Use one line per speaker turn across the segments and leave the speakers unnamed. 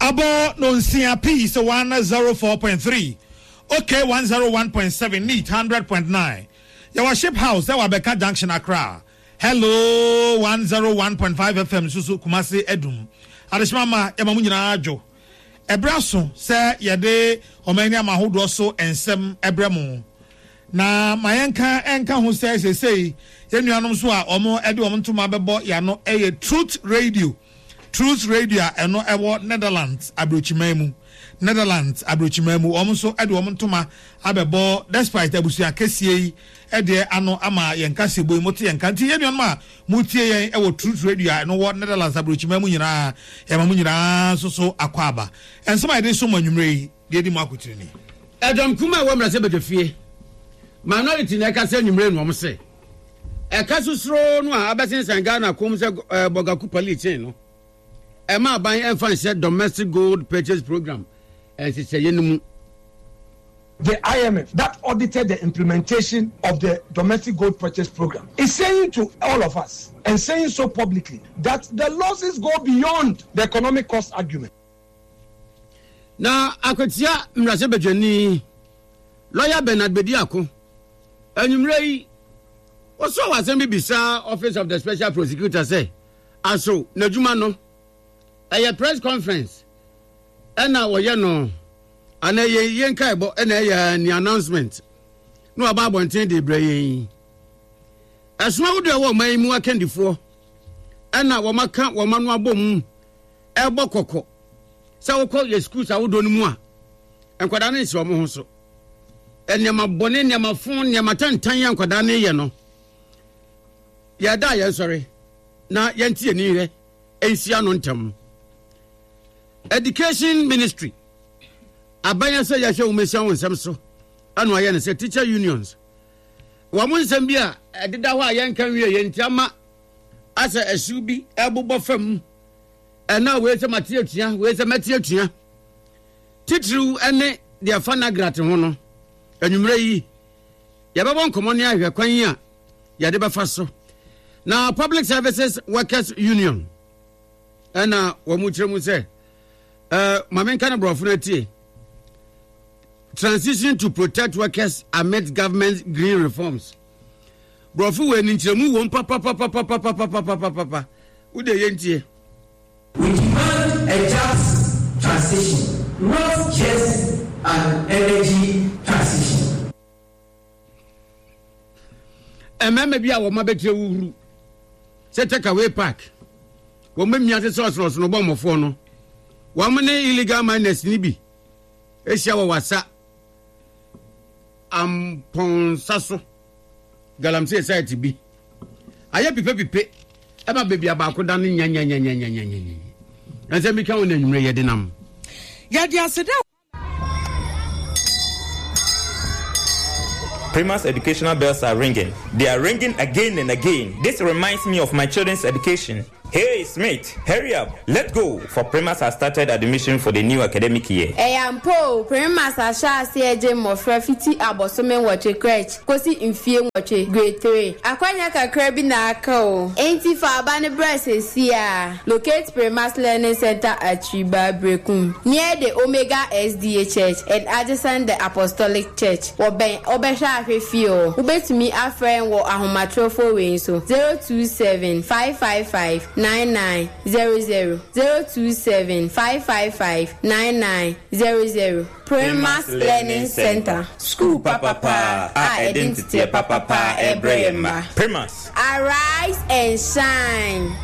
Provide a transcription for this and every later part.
Abɔ nonsia Peace 104.3, OK 101.7, Neat 100.9. Yɛwɔ Ship House ɛwɔ Abɛka Junction, Accra. Hello 101.5 FM nso so Kumasi Adum. Adehyema ma yɛma mo nyinaa dwo. Ɛberɛ aso sɛ yɛde ɔman ne ama ahodoɔ so nsɛm ɛbrɛ mo. Na ma yɛnka nka ho sɛ seesei yɛn nuanom nso a wɔde wɔn ntoma bɛbɔ yɛn ano yɛ Truth Radio. Truth Radio a ɛno ɛwɔ Netherlands aburokyiman mu. Netherlands aburokyiman mu. Wɔn nso de wɔn ntoma abɛbɔ despite abusua kɛseɛ yi deɛ ano ama yɛn kaseɛbɔ yi mote yɛn ka. Nti yɛn nuanom a motie yɛn wɔ Truth Radio a ɛno wɔ Netherlands aburokyiman mu nyinaa, yɛma mo nyinaa nso so akɔ aba. Nsɛm a yɛde som mo anwummerɛ yi, Deɛ edi mu akotene ni.
Ɛdɔm kumaa a ɛwɔ mmarahyɛbadwafie, minority na ɛkasa anwummere no, wɔn se ɛka sosoroo no a abɛsensan Ghana kɔn mu sɛ bɔgaku palikyen no, ɛma aban ɛmfa nhyɛ domestic gold purchase program nhyehyɛeɛ no mu.
The IMF that audited the implementation of the domestic gold purchase program is saying to all of us and saying so publicly that the losses go beyond the economic cost argument.
Na akwatia mmarahyɛbadwani Lɔya Bernard Bediako anwummerɛ yi wɔsɔɔ asɛm bi bisaa Office of the Special Prosecutor sɛ aso n'adwuma no ɛyɛ press conference ɛna wɔyɛ no anaa ɛyɛ yie nkaebɔ ɛna ɛyɛ ni announcement na waba abɔnten de brɛ yɛn yi. Ɛsono ahodoɔ ɛwɔ ɔman yi mu akandifoɔ ɛna wɔaka wɔn ano abɔ mu ɛrebɔ kɔkɔ sɛ wokɔ yɛ schools ahodoɔ no mu a nkwadaa no nsi wɔn ho so nneɛma bɔne nneɛma fo nneɛma tantan yɛ nkwadaa no yɛ no yɛda a yɛnsɔre na yɛnte yɛn ni hwɛ nsia no ntɛm education ministry aban sɛ yɛhwɛ wɔn asia wɔn nsɛm so ɛna ɔyɛ no sɛ teacher unions wɔn nsɛm bi a ɛdeda hɔ a yɛnka nwie yɛn nti ama asɛ ɛhyew bi ɛbobɔ fam Ɛna wei sɛ mate atua, wei sɛ mɛte atua. Titiriw ne deɛ ɛfa Nagrat ho no, anwummerɛ yi, yɛbɛbɔ nkɔmmɔ ne ahwɛ kwan a yɛde bɛfa so. Na Public Services Workers Union ɛna wɔn kyerɛ mu sɛ, ɛɛ maame nka ne borɔfo no atie. Transition to protect workers amid government green reforms. Borɔfo wei no nkyerɛmu wom papapapapapapapapapa. Wo deɛ yɛntie.
We demand a just transition, not just an energy transition.
Mmarima bi a wɔn abɛtire wuhuru sɛ Takeaway Park, wɔn mmea te sɛ ɔsonosono bɔmmɔfoɔ no, wɔn ne illegal miners no bi ahyia wɔ wasa Ampɔnsa so galamsey site bi ayɛ pipepipe ɛma baabi a baako da no nyanyanyanyanyanyanya. Nsɛm bi ka ho na anwummerɛ yɛde nam.
Yɛde aseda.
Primus educational bells are ringing. They are ringing again and again. This reminds me of my children's education. Hey, Smith, hurry up. Let's go. For Primus has started admission for the new academic year.
Ɛyɛ ampa o, Primus ahyɛ aseɛ regye mmɔfra fiti abosome nwɔtwe, crèche, kɔsi mfie nwɔtwe, grade 3. Akwanya kakra bi na aka o, enti fa aba no bra seesei ara. Locate Primus Learning Center at Triba, Berekum, near the Omega SDA Church and adjacent the Apostolic Church. Wɔbɛn Wobɛhwɛ Ahwɛ Fie hɔ. Wobɛtumi afrɛ yɛn wɔ ahomatorofo wei so, 027 555 9900, 027 555 9900. Primus Learning Center,
Sukuu papapa a ɛde nteteɛ papapa rebrɛ yɛn mma. Primus.
Arise and shine!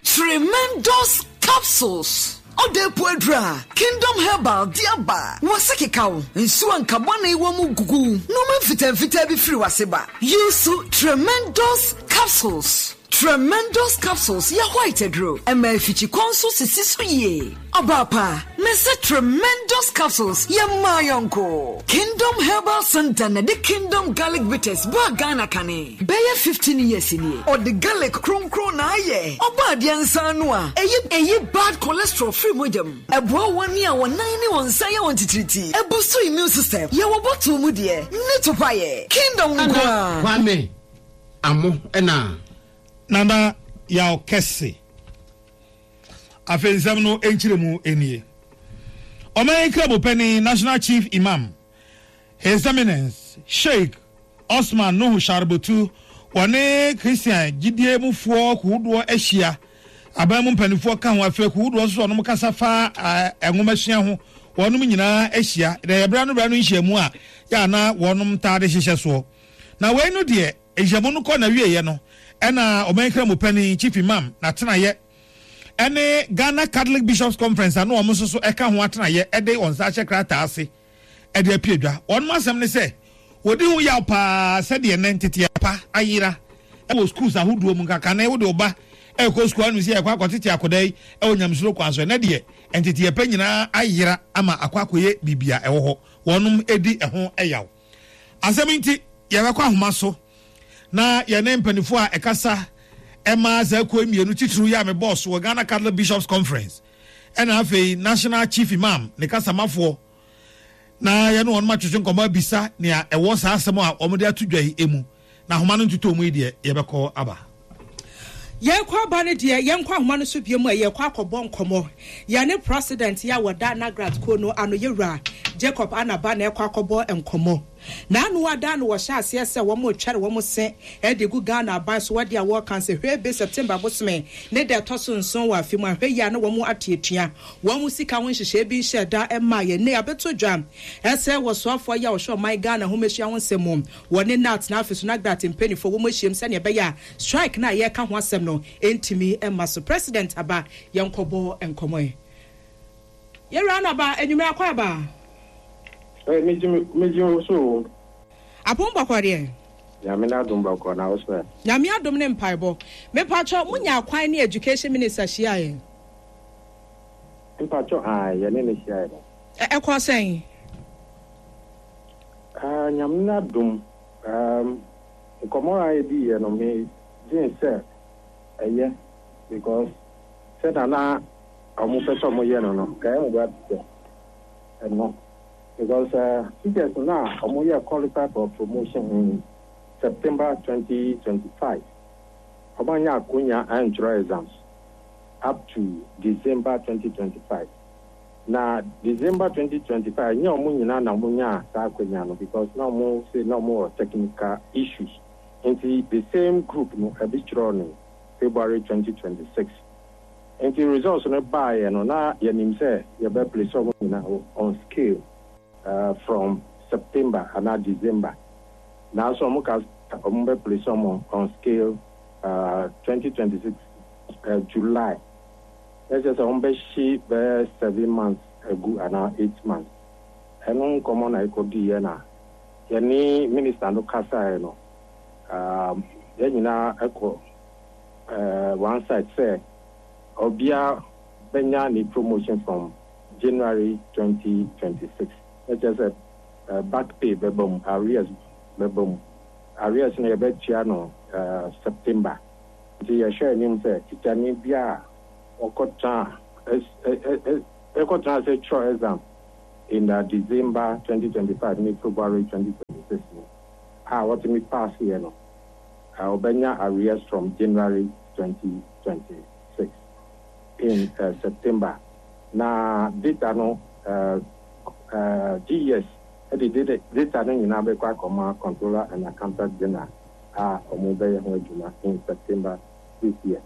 Tremendous capsules. Ɔda epu aduru a Kingdom Herbal de aba. W'ase keka wo, nsu a nka bɔne wɔ mu gugu wo, nnoɔma mfitaa mfitaa bi firi w'ase ba. Use Tremendous capsules. Tremendous capsules yɛ white aduro, ɛma afikyikɔ nso sisi so yie. Ɔbaa pa, mese Tremendous capsules yɛ mmaa yɔnko. Kingdom Herbal Center na ɛde Kingdom Garlic Bitters baa Ghana kane. Bɛyɛ 15 years nie. Ɔde garlic kronkron na ayɛ. Ɔbɔ adeɛ nsa ano a, ɛyi ɛyi bad cholesterol firi mogya mu. Ɛboa wɔn a wɔn nan ne wɔn nsa yɛ wɔn titiritii. Ɛbustu immune system. Yɛwɔ bottle mu deɛ, ne topa yɛ. Kingdom nko
Nana
ara.
Kwame Amo ɛna.
Nana Yaw Kɛse. Afei nsɛm no nkyerɛmu nie. Ɔman yi Kramopanin, National Chief Imam, His Eminence Sheikh Osman Nuhu Sharubutu, wɔne Christian gyidie mufoɔ kuwdoɔ ahyia, aban mu mpanimfoɔ ka ho, afei kuwdoɔ nso wɔnom kasa fa nwomasua ho, wɔnom nyinaa ahyia. Na ɛyɛ berɛ ano berɛ ano nhyiamu a yɛ a na wɔnom taa de hyehyɛ soɔ. Na wei no deɛ, nhyiamu no kɔ n'awieɛ no, ɛna ɔman Kramopanin, Chief Imam, n'atenaeɛ, ɛne Ghana Catholic Bishops Conference a na wɔn nso so ɛka ho atenaeɛ de wɔn nsa ahyɛ krataa ase de apue dwa. Wɔn asɛm ne sɛ wɔdi ho yaw paa sɛdeɛ nnɛ nteteɛ pa ayera wɔ schools ahodoɔ mu. Nka kane wode wo ba ɛrekɔ sukuu anom sɛ yɛkɔ akɔtete akwadaa yi wɔ nyamesuro kwan so. Ɛnnɛ deɛ nteteɛ pa nyinaa ayera ama akɔ akɔyɛ biribi a ɛwɔ hɔ. Wɔnom di ɛho yaw. Asɛm nti yɛbɛkɔ ahoma so na yɛne mpanimfoɔ a ɛkasa ɛma saa kuo mmienu titiriw yi a mebɔɔ so wɔ Ghana Catholic Bishops Conference ɛna afei National Chief Imam ne kasamafoɔ na yɛne wɔn atwetwe nkɔmmɔ abisa nea ɛwɔ saa asɛm a wɔde ato dwa yi mu na ahoma no ntotɔ mu yi deɛ yɛbɛkɔ aba.
Yɛkɔ aba no deɛ yɛnkɔ ahoma no so bio mu a yɛkɔ akɔbɔ nkɔmmɔ. Yɛne President yi a wɔda NAGRAT kuo no ano Yɛwura Jacob Anaba na ɛkɔ akɔbɔ nkɔmmɔ. N'ano ada no wɔhyɛ aseɛ sɛ wɔn retwɛre wɔn se de gu Ghana aban so wɔ deɛ wɔreka sɛ hwɛ be September bosome ne da ɛtɔ so nson wɔ afe mu a hwɛ yie a na wɔn ate atua wɔn sika ho nhyehyɛɛ bi nhyɛɛ da mmaa yɛn. Nnɛ yɛabɛto dwa sɛ wɔsoafoɔ yi a wɔhwɛ ɔman Ghana nhomasua ho nsɛm mu wɔne NAT na afei so NAGRAT mpaninfoɔ wɔn ahyiam sɛdeɛ ɛbɛyɛ a strike no a yɛreka ho asɛm no ntumi mma so. President aba yɛnkɔbɔ nkɔmmɔ ɛ. Yɛwura no aba, anwummerɛ akɔ aba.
Ɛ megye megye wo so o.
Apom bɔkɔ deɛ.
Nyame n'adom bɔkɔ na wo so ɛ.
Nyame adom ne mpaebɔ. Mepakyɛw mo nyaa kwan ne education minister hyiaeɛ?
Mpakyɛw ae yɛne no hyiaeɛ no.
Ɛ ɛkɔɔ sɛn?
Ah Nyame n'adom um nkɔmmɔ a yɛdiiɛ no me dwen sɛ ɛyɛ because sɛda na ɔmo pɛ sɛ ɔmo yɛ no no nka ɛmboa te sɛ ɛno because teachers no a ɔmo yɛ qualify for promotion in September 2025 ɔmo annya akonya antwerɛ exams up to December 2025. Na December 2025 ɛnyɛ ɔmo nyinaa na ɔmo nyaa saa akwanya no because na ɔmo se na ɔmo wɔ technical issues nti the same group no ɛbi kyerɛw no February 2026 nti results no baeɛ no na yɛnim sɛ yɛbɛ place ɔmo nyinaa on scale from September anaa December nanso ɔmo ka sɛ ɔmo bɛ place ɔmo on scale 2026 July. Na kyerɛ sɛ wɔbɛhye bɛyɛ seven months agu anaa eight months. Ɛno nkɔmmɔ na yɛkɔdiiɛ na yɛne minister no kasaeɛ no, um, yɛn nyinaa kɔ uh, one side sɛ obiara bɛnya ne promotion from January 2026. Na kyerɛ sɛ uh, back pay bɛba mu, arrears bɛba mu. Arrears no yɛbɛtua no uh, September. Nti yɛhwɛ anim sɛ tikyani biara a ɔkɔtena ase twerɛ exam in the December 2025 ne February 2026 no a ɔtumi paaseɛ no, ɔbɛnya arrears from January 2026 in September. Na data no, GES de data no nyinaa bɛkɔ akɔma Controller and Accountant General a wɔbɛyɛ ho adwuma in September this year.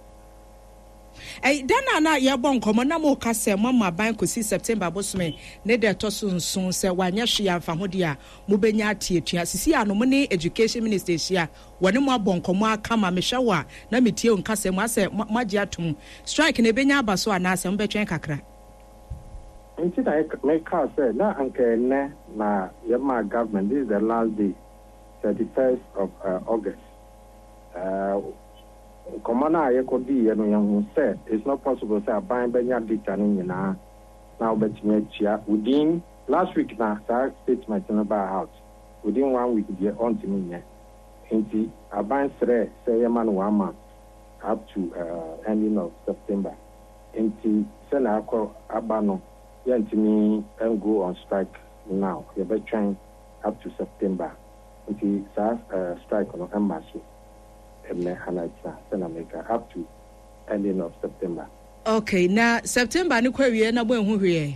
Ɛy, da no a na yɛrebɔ nkɔmmɔ na moreka sɛ moama aban kɔsi September bosome ne da ɛtɔ so nson, sɛ wanyɛ hwee amfa ho deɛ a, mobɛnya ate atua. Sisi a no mo ne Education Minister ahyia, wɔne mo abɔ nkɔmmɔ ara kama, mehwɛ wo a na metie wo nkasa mu, asɛ moagye atom? Strike no ɛbɛnya aba so anaasɛ mobɛtwɛn kakra?
Nti na mekaa sɛ na anka ɛnnɛ na yɛmaa government, this is the last day, 31st of August. Nkɔmmɔ no a yɛkɔdiiɛ no, yɛhuu sɛ it's not possible sɛ aban bɛnya data no nyinaa na wobɛtumi atua within, last week na saa statement no baa out, within one week deɛ ɔntumi nyɛ. Nti aban srɛɛ sɛ yɛma no one month up to ending of September. Nti sɛnea akɔ aba no, yɛntumi go on strike now, yɛbɛtwɛn up to September. Nti saa strike no mma so ɛnnɛ anaa kyena sɛnea meka up to ending of September.
Okay, na September no kɔ awieɛ na moanhu hwee ɛ?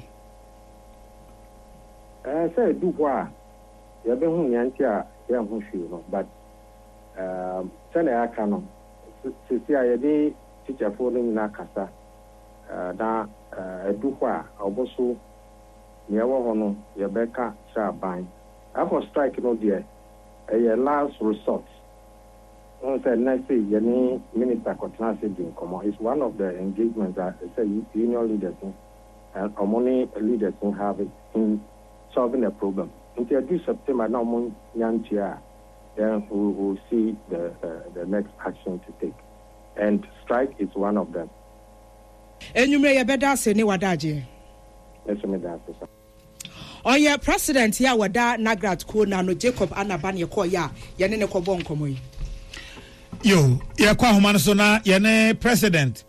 Ɛɛ sɛ ɛdu hɔ a yɛbɛhu nea nti a yɛnho hwee no but ɛɛm sɛnea yɛaka no seesei a yɛne tikyafoɔ no nyinaa kasa na ɛdu hɔ a ɔmo so nea ɛwɔ hɔ no yɛbɛka kyerɛ aban. Ɛfɔ strike no deɛ ɛyɛ last resort. Wohu sɛ nnɛ sei yɛne minister kɔtena ase di nkɔmmɔ. It's one of the engagements a ɛsɛ union leaders no ɔmo ne leaders no have in solving the problem. Nti ɛdu September na ɔmo nya ntua a, then we will see the the next action to take and strike is one of them.
Anwummerɛ yɛbɛda ase ne w'adagyeɛ.
Me nso meda ase sa.
Ɔyɛ president a wɔda Nagrat kuo no ano Jacob Anaba na yɛkɔɔeɛ a yɛne no kɔbɔɔ nkɔmmɔ yi.
Yo, yɛkɔ ahoma no so na yɛne president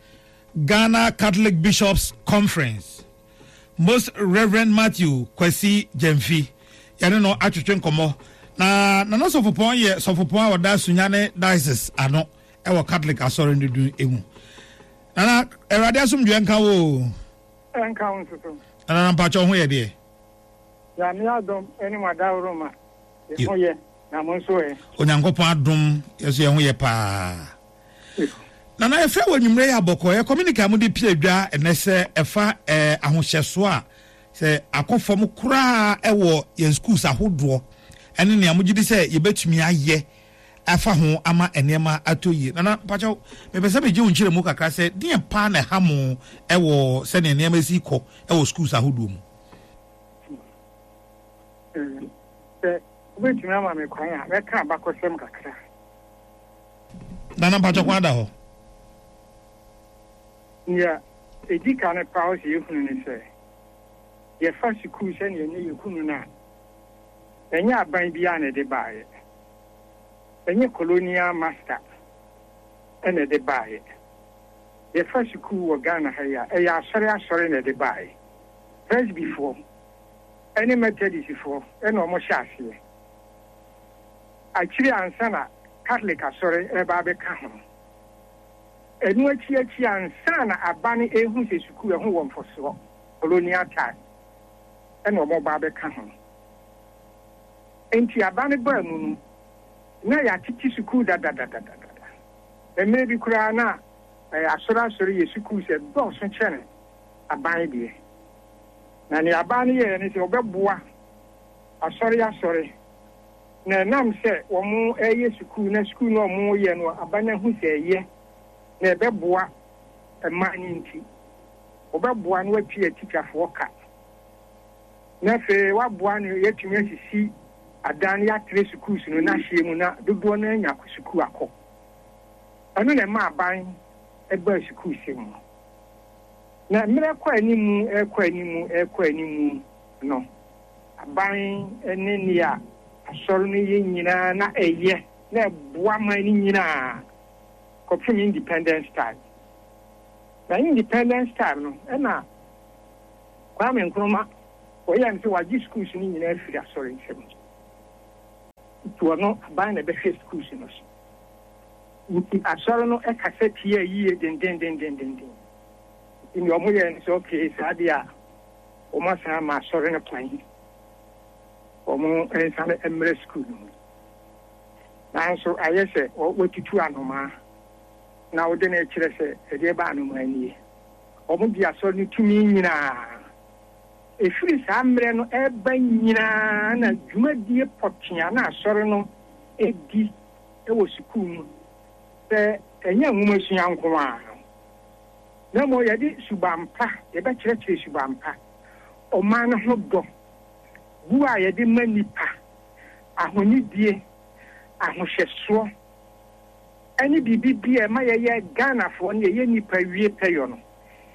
Ghana Catholic Bishops Conference Most Reverend Matthew Kwasi Gyamfi yɛne no atwetwe nkɔmmɔ na Nana Sɔfopɔn yɛ sɔfopɔn a ɔda Sunyani Diocese ano ɛwɔ Catholic asɔre no dun emu. Nana, Awurade asomdwoeɛ nka wo o.
Ɛnka wo nso so.
Nana mpakyɛ wo ho yɛ deɛ?
Nyame adom ne mo adaworoma yɛ ho yɛ na mo nso ɛ?
Onyankopɔn adom yɛ so yɛ ho yɛ paa. Nana yɛfrɛ wɔ anwummerɛ yi abɔkɔ yɛ communique a mode pie dwa ɛnɛ sɛ ɛfa eh, ahohyɛsoɔ a sɛ akɔ fam koraa ɛwɔ yɛn schools ahodoɔ ɛne nea mogye di sɛ yɛbɛtumi ayɛ afa ho ama nneɛma atɔ yie. Nana, mpakyɛw, mepɛ sɛ megye wo nkyerɛmu kakra sɛ deɛn paa na ɛha mo wɔ sɛdeɛ nneɛma si kɔ wɔ schools ahodoɔ mu?
Sɛ wobɛtumi ama me kwan a, mɛka abakɔsɛm kakra.
Nana, mpakyɛw, kwan da hɔ.
Nea ɛdi kan paa sɛ yɛhunu ne sɛ, yɛfa sukuu sɛdeɛ ɛnnɛ yɛhunu no a, ɛnyɛ aban biara na ɛde baeɛ. Ɛnyɛ colonial master na ɛde baeɛ. Yɛfa sukuu wɔ Ghana ha yi a, ɛyɛ asɔre asɔre na ɛde baeɛ. Presbyfoɔ ne Methodistfoɔ na wɔhyɛ aseɛ. Akyire ansa na Catholic asɔre reba abɛka ho. Ɛno akyi akyi ansa na aban rehu sɛ sukuu ɛho wɔ mfɔsoɔ, colonial time, na wɔreba abɛka ho. Enti aba no baa mu no, na yɛatete sukuu dadadadadada. Mmerɛ bi koraa na asɔre asɔre yɛ sukuu sɛ dɔɔso kyɛne aban deɛ. Na nea aban no yɛeɛ ne sɛ wɔbɛboa asɔre asɔre. Na ɛnam sɛ wɔreyɛ sukuu na sukuu no a wɔreyɛ no aban no ahu sɛ ɛyɛ na ɛbɛboa mmaa no nti, wɔbɛboa na wɔatua tikyafoɔ ka. Na afei wɔaboa no yɛatumi asisi adan na yɛatrɛ sukuus no n'ahyeɛ mu na dodoɔ no anya sukuu akɔ. Ɛno na ɛma aban baa sukuusɛm mu. Na mmerɛ kɔ animu rekɔ animu rekɔ animu no, aban ne nea asɔre no yɛ nyinaa na ɛyɛ na ɛboa man no nyinaa kɔpem independence time. Na independence time no ɛna Kwame Nkrumah wɔyɛɛ no sɛ wagye schools no nyinaa afiri asɔre nsam nti ɔno aban na ɛbɛhwɛ schools no so. Nti asɔre no kasa tiaa yie dendendendenden. Nti nea wɔyɛɛ no sɛ okay saa deɛ a wɔn asan ama asɔre no kwan wɔn nsan mmrɛ school no mu. Nanso ayɛ sɛ wɔatutu anomaa na wode no rekyerɛ sɛ ɛdeɛ ba anomaa nie. Wɔgye asɔre no tumi nyinaa. Ɛfiri saa mmerɛ no reba nyinaa na dwumadie pɔtee a na asɔre no di wɔ sukuu mu sɛ ɛnyɛ nwomasua nko ara no, na mmom yɛde suban pa, yɛbɛkyerɛkyerɛ suban pa, ɔman no ho dɔ, bu a yɛde ma nnipa, ahonidie, ahohyɛsoɔ, ne biribi bi a ɛma yɛyɛ Ghanafoɔ ne yɛyɛ nnipa wie pɛyɔ no,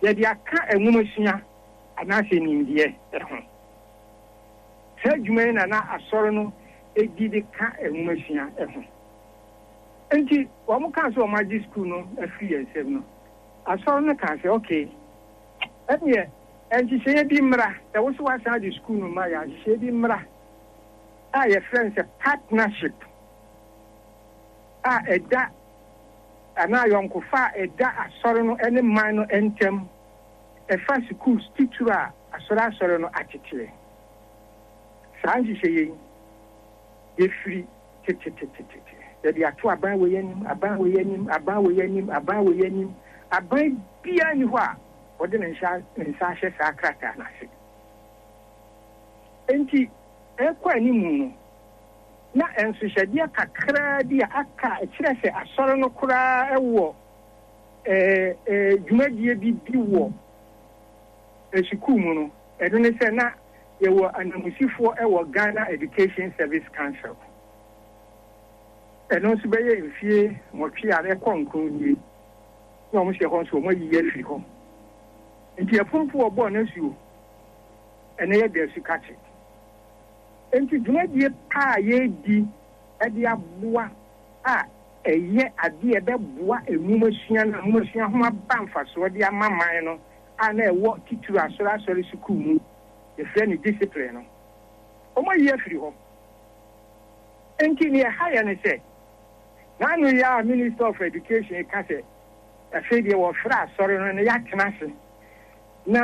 yɛde aka nwomasua anaasɛ nimdeɛ ho. Saa adwuma yi na na Asɔre no di de ka nwomasua ho. Enti wɔkaa sɛ wɔagye sukuu no afiri yɛn nsam no, Asɔre no kaa sɛ, Okay, ɛnneɛ nhyehyɛeɛ bi mmra, sɛ wo se woasan de sukuu no ma yɛn a, nhyehyɛeɛ bi mmra a yɛfrɛ no sɛ partnership. a ɛda anaa ayɔnkofa a ɛda Asɔre no ne man no ntam. ɛfa sukuu titiriw a asɔreasɔre no ateteɛ. Saa nhyehyɛeɛ yi, yɛfiri tetetetete, yɛde ato aban wei anim, aban wei anim, aban wei anim, aban wei anim. Aban biara nni hɔ a ɔde ne nsa ne nsa ahyɛ saa krataa no ase. Enti ɛrekɔ anim no, na nsohyɛdeɛ kakraa bi a aka a ɛkyerɛ sɛ asɔre no koraa wɔ dwumadie bi di wɔ sukuu mu no, ɛno ne sɛ na yɛwɔ ananmusifoɔ wɔ Ghana Education Service Council. Ɛno nso bɛyɛ mfie nwɔtwe a ɛkɔ nkron nie na wɔn hyɛ hɔ nso wɔn ayiyi afiri hɔ. Nti ɛpompo wɔbɔɔ no asuo, ɛnɛ yɛda asu kakye. Enti dwumadie pa a yɛredi de aboa a ɛyɛ adeɛ a ɛbɛboa nwomasua na nwomasua ho aba mfasoɔ de ama man no a na ɛwɔ titiriw asɔre asɔre sukuu mu, yɛfrɛ no discipline no, wɔayi afiri hɔ. Enti nea ɛha yɛn ne sɛ, n'ano yi ara Minister of Education reka sɛ afei deɛ wɔfrɛ asɔre no na yɛatena ase na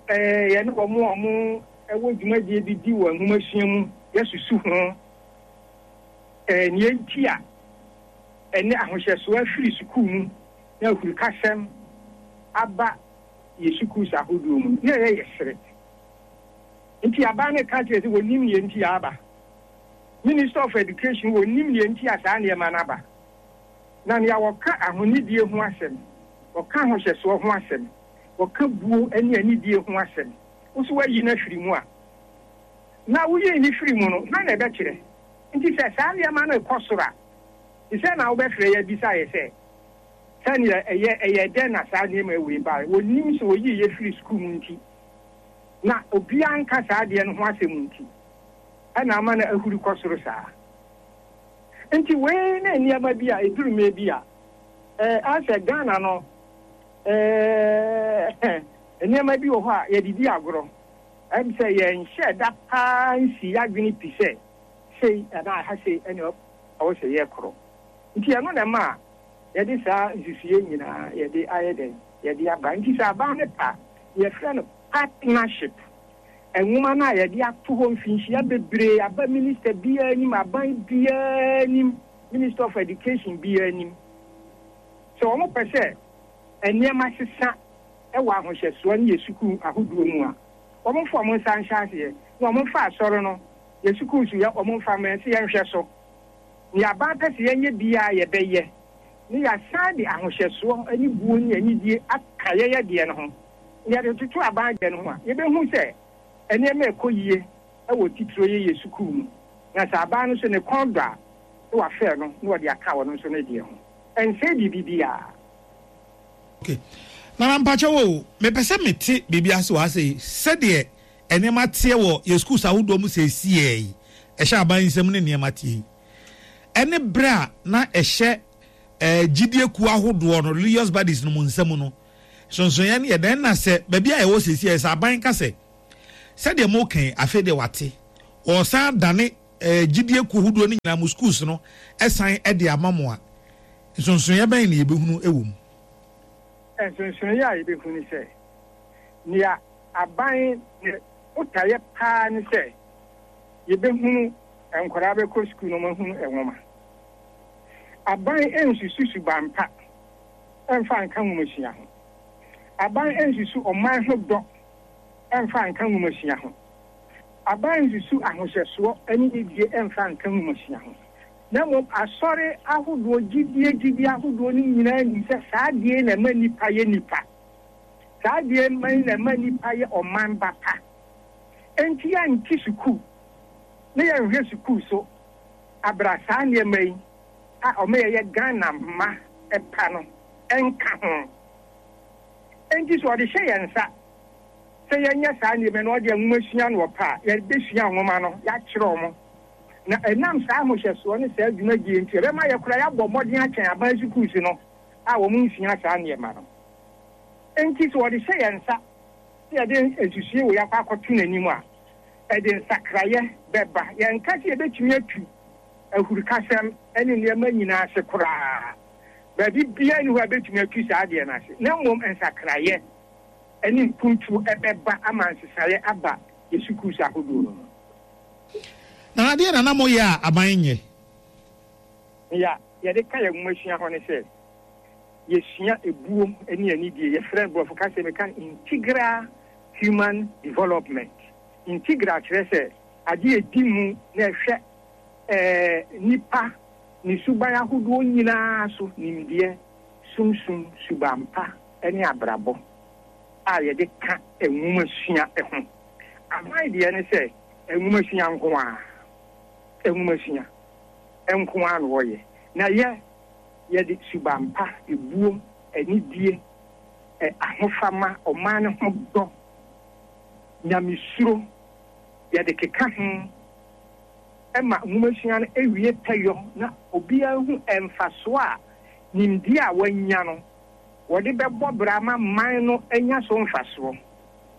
yɛne wɔn a wɔwɔ dwumadie bi di wɔ nwomasua mu yɛasusu ho nea enti a ɛne ahohyɛsoɔ afiri sukuu mu na ahurukasɛm aba yɛ sukuus ahodoɔ mu no, na ɛyɛ yɛ sere. Nti aban no ka kyerɛ sɛ wɔnim nea enti a aba. Minister of Education wɔnim nea enti a saa nneɛma no aba. Na nea wɔka ahonidie ho asɛm, wɔka ahohyɛsoɔ ho asɛm, wɔka buo ne anidie ho asɛm, wo nso woayi no afiri mu a, na woyii no firii mu no, hwan na ɛbɛkyerɛ? Nti sɛ saa nneɛma no rekɔ soro a, te sɛ na wobɛfrɛ yɛn abisa yɛn sɛ, sɛdeɛ ɛyɛ, ɛyɛɛ dɛn na saa nneɛma wei baeɛ? Wɔnnim sɛ wɔyii yɛn firii sukuu mu nti, na obiara nka saa adeɛ no ho asɛm nti, ɛna ama no ahuri kɔ soro saa. Nti wei ne nneɛma bi a ɛduru mmerɛ bi a, ɛɛ, asɛ Ghana no, ɛɛ, nneɛma bi wɔ hɔ a yɛde di agorɔ. Ɛm sɛ yɛnhyɛɛ da paa nsii y'adwene pi sɛ sei anaa ɛha sei ɛne ɛwɔ sɛ yɛkorɔ. Nti ɛno na ɛma a yɛde saa nsusuiɛ nyinaa yɛde ayɛ dɛn? Yɛde aba. Nti sɛ aban no pa a, yɛfrɛ no partnership. Nwoma no a yɛde ato hɔ mfinhyia bebree aba minister biara anim, aban biara anim, minister of education biara anim. Sɛ wɔn pɛ sɛ nneɛma sesa wɔ ahohyɛsoɔ ne yɛ sukuu ahodoɔ mu a, wɔn mfa wɔn nsa nhyɛ aseɛ, na wɔn mfa asɔre no, yɛ sukuu so yɛ wɔn mfa mma yɛn sɛ yɛnhwɛ so. Nea aban pɛ sɛ yɛnyɛ biara yɛbɛyɛ, na yɛasan de ahohyɛsoɔ ne buo ne anidie aka yɛyɛ deɛ no ho. Na yɛde toto aban deɛ no ho a, yɛbɛhu sɛ nneɛma rekɔ yie wɔ titire yɛ yɛ sukuu mu. Na sɛ aban no nso ne kɔn dɔ a, na wafɛɛ no na ɔde aka ɔno nso ne deɛ ho. Ɛnsɛe biribi biara.
Ok Nana mpakyɛw o, mepɛ sɛ mete biribi ase wɔ ha sei, sɛdeɛ nneɛma teɛ wɔ yɛ schools ahodoɔ mu seesei yi, ɛhyɛ aban nsam ne nneɛma teɛ yi, ɛne berɛ a na ɛhyɛ eh, gyidie kuo ahodoɔ no, religious bodies no mu nsam no, nsonsonoeɛ no yɛ dɛn? Na sɛ baabi a yɛwɔ seesei sɛ aban ka sɛ, sɛdeɛ moka yi, afei deɛ wate, ɔresan adane eh, gyidie kuo hodoɔ no nyinaa mo schools no san de ama mo a, nsonsonoeɛ bɛn na yɛbɛhunu wɔ mu?
Nsonsonoeɛ a yɛbɛhu ne sɛ, nea aban ne botaeɛ paa ne sɛ yɛbɛhunu nkwadaa bɛkɔ sukuu na wɔahunu nwoma. Aban nsusu suban pa mfa nka nwomasua ho. Aban nsusu ɔman ho dɔ mfa nka nwomasua ho. Aban nsusu ahohyɛsoɔ ne nidie mfa nka nwomasua ho. Na mmom asɔre ahodoɔ, gyidie gyidie ahodoɔ no nyinaa nim sɛ saa adeɛ yi na ɛma nnipa yɛ nnipa. Saa adeɛ yi na ɛma nnipa yɛ ɔman ba pa. Enti yɛnte sukuu na yɛnhwɛ sukuu so abra saa nneɛma yi a ɔma yɛyɛ Ghana mma pa no nka ho. Enti sɛ ɔde hyɛ yɛn nsa sɛ yɛnyɛ saa nneɛma yi na ɔde nwoma sua no ɔpɛ a, yɛbɛsua nwoma no, yɛakyerɛ wɔn. Na ɛnam saa ahohyɛsoɔ ne saa dwumadie nti, ɛbɛma yɛ koraa yɛabɔ mmɔden akyɛn aban sukuus no a wɔn nsua saa nneɛma no. Enti sɛ wɔde hyɛ yɛn nsa sɛ yɛde nsusuie wei akɔ akɔto n'anim a, ɛde nsakraeɛ bɛba. Yɛnka sɛ yɛbɛtumi atu ahurukasɛm ne nneɛma nyinaa ase koraa. Baabi biara nni hɔ a ɛbɛtumi atu saa adeɛ no ase, na mmom nsakraeɛ. ne mpuntuo bɛba ama nsesaeɛ aba yɛ sukuus ahodoɔ no mu.
Nana deɛ na na moyɛ a aban nyɛ?
Nea yɛde ka yɛn nwomasua ho ne sɛ, yɛsua ebuo ne anidie. Yɛfrɛ no, borɔfo kasa mu yɛka no integral human development. Integral kyerɛ sɛ adeɛ a ɛdi mu na ɛhwɛ nnipa ne suban ahodoɔ nyinaa so, nimdeɛ, sumsum, suban pa ne abrabɔ a yɛde ka nwomasua ho. Aban deɛ ne sɛ nwomasua nko ara, nwomasua nko ara na wɔyɛ. Na yɛ, yɛde suban pa, ebuo, anidie, ahofama, ɔman no ho dɔ, nyamesuro, yɛde keka ho ma nwomasua no wie pɛyɔ na obiara hu mfasoɔ a nimdeɛ a wɔanya no wɔde bɛbɔ bra ma man no anya so mfasoɔ.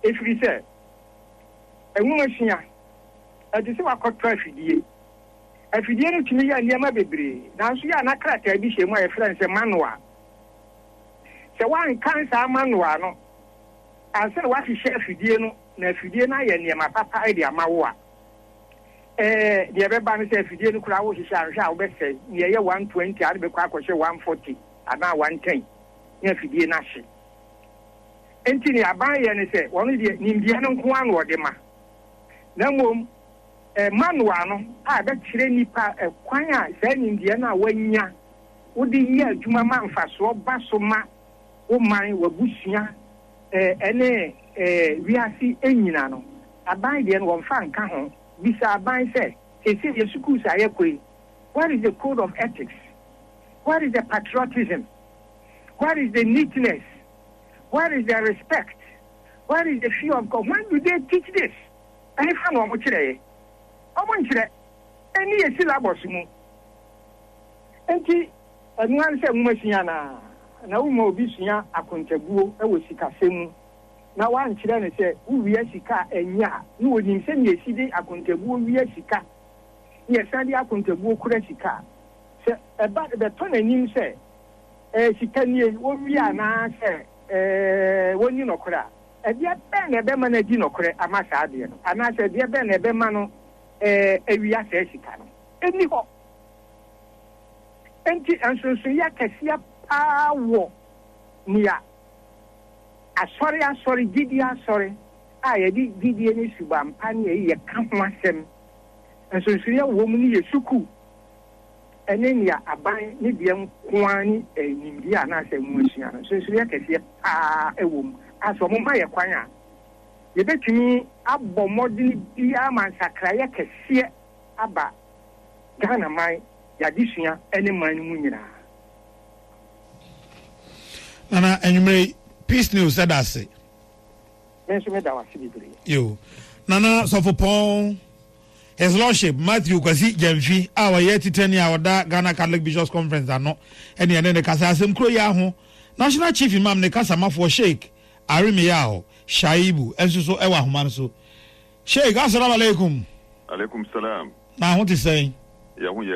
Ɛfiri sɛ, nwomasua, ɛte sɛ woakɔtɔ afidie. Afidie no tumi yɛ nneɛma bebree, nanso yɛ a na krataa bi hyɛ mu a yɛfrɛ no sɛ manual. Sɛ woankan saa manual no ansa na woahyehyɛ afidie no na afidie no ayɛ nneɛma papa de ama wo a, ɛɛ, deɛ ɛbɛba ne sɛ afidie no koraa wohyehyɛ a, anhwɛ a wobɛsɛe. Nea ɛyɛ 120 a, wode bɛkɔ akɔhyɛ 140 anaa 110 na afidie no ahye. Enti nea aban yɛ ne sɛ, wɔn deɛ nimdeɛ no nko ara na wɔde ma. Na mmom manual no a ɛbɛkyerɛ nnipa kwan a saa nimdeɛ no a wɔanya wode yɛ adwuma ma mfasoɔ ba so ma wo man, w'abusua, ne wiase nyina no, aban deɛ no wɔmfa nka ho. Bisa aban sɛ, seesei yɛn sukuus a yɛkɔ yi, where is the code of ethics? Where is the patriotism? Where is the neatness? Where is the respect? Where is the fear of God? When do they teach this? Ɛhefa na wɔn kyerɛeɛ? Wɔn nkyerɛ. Ɛnni yɛ syllabus mu. Enti ɛno ara ne sɛ nwoma sua anaa? Na woma obi sua akontabuo wɔ sikasɛm mu na woankyerɛ no sɛ wowia sika a ɛnyɛ a, na ɔnim sɛnea ɛsi de akontabuo wia sika na yɛsan de akontabuo kura sika a, sɛ ɛba bɛtɔ n'anim sɛ ɛɛ sika nie, wɔwia anaasɛ ɛɛ wɔnni nɔkorɛ a, ɛdeɛ bɛn na ɛbɛma no adi nɔkorɛ ama saa adeɛ no? Anaasɛ ɛdeɛ bɛn na ɛbɛma no ɛɛ awia saa sika no? Ɛnni hɔ. Enti nsonsonoeɛ akɛseɛ paa wɔ nea asɔre asɔre, gyidie asɔre a yɛde gyidie ne suban pa ne ayiyɛ ka ho asɛm, nsonsonoeɛ wɔ mu ne yɛ sukuu ne nea aban ne deɛ nko ara ne nimdeɛ anaasɛ nwomasua no, nsonsonoeɛ kɛseɛ paa wɔ mu a sɛ wɔma yɛ kwan a, yɛbɛtumi abɔ mmɔdene biara ma nsakraeɛ kɛseɛ aba Ghana man, y'adesua ne man no mu nyinaa.
Nana anwummere yi, Peace News ɛda ase.
Me nso meda wo ase bebree.
Yo. Nana Sɔfopɔn His Lordship Matthew Kwasi Gyamfi a ɔyɛ titenani a ɔda Ghana Catholic Bishops Conference ano ɛne ɛne ne kasa asɛm kuro yi aho National Chief Imam ne kasamafoɔ Sheikh Arimiyaw Shaibu nso so ɛwɔ ahoma no so. Sheikh, Assalamu alaikum.
Alaikum salam.
Na ho te sɛn?
Yɛ ho yɛ.